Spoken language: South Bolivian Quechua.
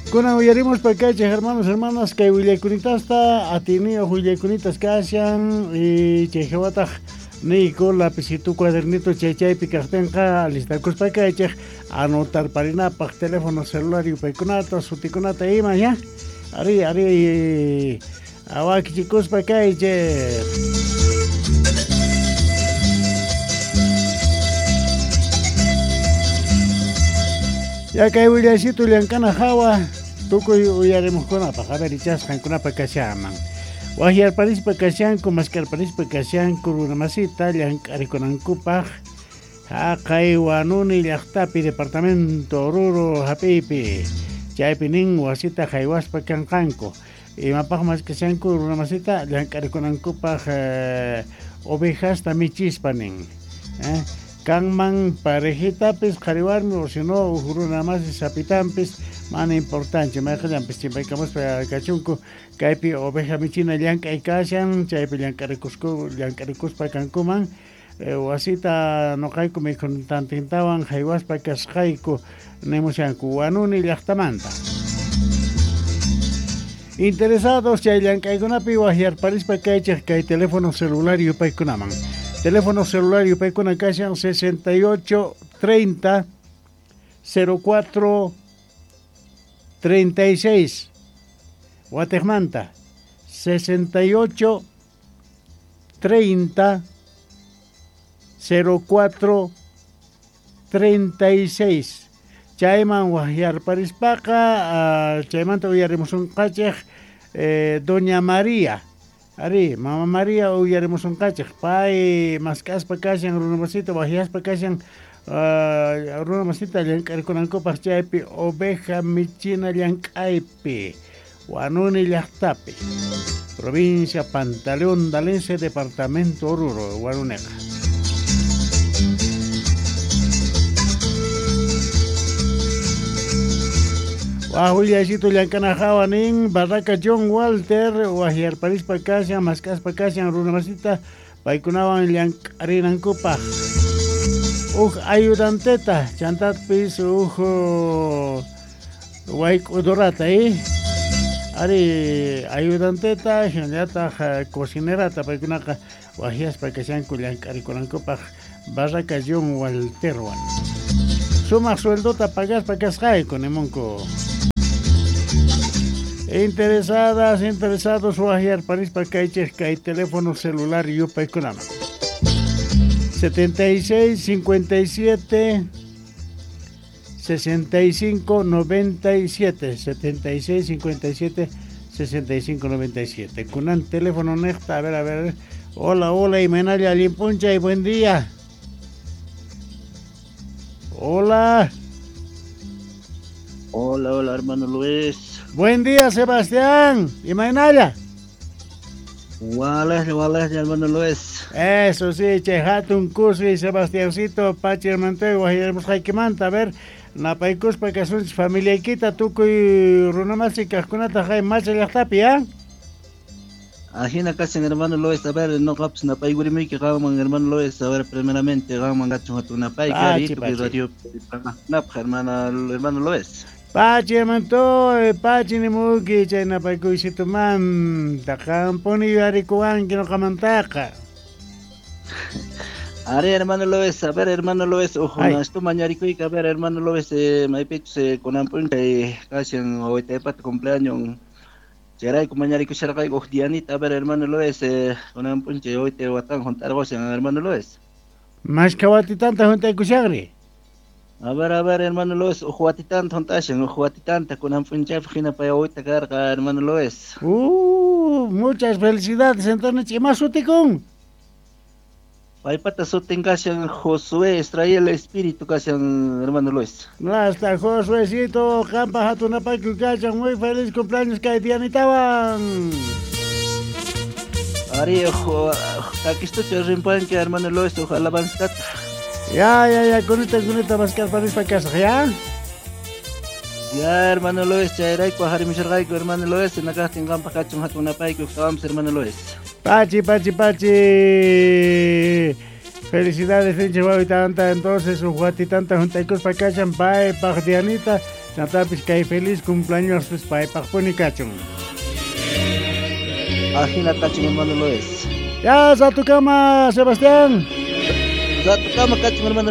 Kunan uyarimuspa kaychej hermanos, hermanas, kay willaykunitasta, atiniyoj willayunitas kashan, y chay jawataj niyku lapicito, cuadernito chay chaypi kajtinqa alistakuspa kaychej anotarparinapaj teléfono celular yupaykunata, sutikunata ima, ya. Ari, ari, awakichikuspa kaychej. Ya kay willaycito llank'ana hawa tukuy uyarimuqkunapaq, a ver, ichasqankunapaq kashanman. Wajyarparispa kashanku, maskarparispa kashanku runamasita llank'arikunankupaq haqay Huanuni llaqtapi departamento Oruro hap'iypi. Chaypi nin wasita haywaspa kanqanku. Imapaq maskashanku runamasita llank'arikunankupaq ovejasta michispa nin. Kanman parejitapis qhariwarmi o si no uj runamasi sapitampis mana importante mayqallanpis chimpaykamuspa kachunku kaypi oveja michina llank'ay kashan chaypi llank'arikuspa kankuman wasita noqayku mikhuntantintawan haywaspa kasqayku nimushanku Huanuni llaqtamanta. Interesados chay llank'aykunapi wajyarparispa kaychej kay teléfono celular yupaykunaman. Teléfono celular yupaykuna kashan 68 30 04 36. Guatemanta 68 30 04 36. Chayman wajyarparispaqa chaymanta uyarimusunqachej Doña María. Ari, Mama María uyarimusunqachej pay mask'aspa kashan runamasita wajyaspa kashan runamasita llank'arikunankupaq chaypi oveja michina llank'aypi Huanuni llaqtapi provincia Pantaleón Dalense departamento Oruro Huanuneqa. Wajwillaycito llank'ana hawa nin Barraca John Walter wajyarparispa kashan mask'aspa kashan runamasita paykunawan llank'arinankupaq uj ayudanteta chantapis uj wayk'udurata ari ayudanteta hinallataq cocinerata paykunaqa wajyaspa kashanku llank'arikunankupaq Barraca John Walterwan sumaq sueldota pagaspa kasqayku nimunku. Interesadas, interesados, wajyarparispa kaychej kay teléfono celular yupaykunaman 76 57 65 97 76 57 65 97. Kunan teléfono nejta, a ver, hola, hola, Imenalla Limpuncha y buen día. Hola. Hola, hola, hermano Luis. Buen día, Sebastián. Imaynalla. Wales, wales, hermano Luis. Eso sí, che, hatun kusi, Sebastiancito, Pachi hermantoy, wajyarmusqaykimanta, a ver, napaykuspa kasunchis familiaykita tukuy runamasi kaqkunata hay macha llaqtapi, ¿ah? Ajina kashan hermano Luis, a ver, noqapis napaykurimuyki qanman hermano Luis, a ver, primeramente qanman kachun hatun napayki, tukuy radio napaq hermano Luis. Pachi hermantoy, pachi nimuyki chay napaykuysitumanta, qampuni yuyarikuwanki noqamantaqa. Ari hermano Luis, a ver hermano Luis, ujuna esto mañarikuyki, a ver hermano Luis, maypichus kunan p'unchay kashan wawitaypata cumpleaños. Chayrayku mañarikusharqayku uj dianita, a ver hermano Luis, kunan p'unchay wawitay watan junt'arqushan hermano Luis. Mashka watitanta junt'aykushaqri. A ver, hermano Luis, uj watitanta junt'ashan, uj watitanta kunan p'unchaypaq hina pay wawita karqa hermano Luis. Muchas felicidades, entonces, ima sutikun? Paypata sutin kashan Josué Israel Espíritu kashan hermano Luis. Hasta Josuécito, qampa hatunapayku kashan, muy feliz cumpleaños kay dianitawan. Ari, takistucha rimpanki hermano Luis, uj alabanzata. Ya, kunita maskarparispa kasaq, ya? Ya, hermano Luis, chayrayku harimusharqayku hermano Luis, nakaqtin qanpaq kachun hatunapayku uqtawampas hermano Luis. Pachi, pachi, pachi. Felicidades, pinche wawitanta. Entonces, uj watitanta juntaykuspa kashan paypaq Dianita. Chantapis kay feliz cumpleañospis paypaqpuni kachun. Ajina kachun, hermano Luis. Ya, ratukama, Sebastián. Ratukama kachun, hermano.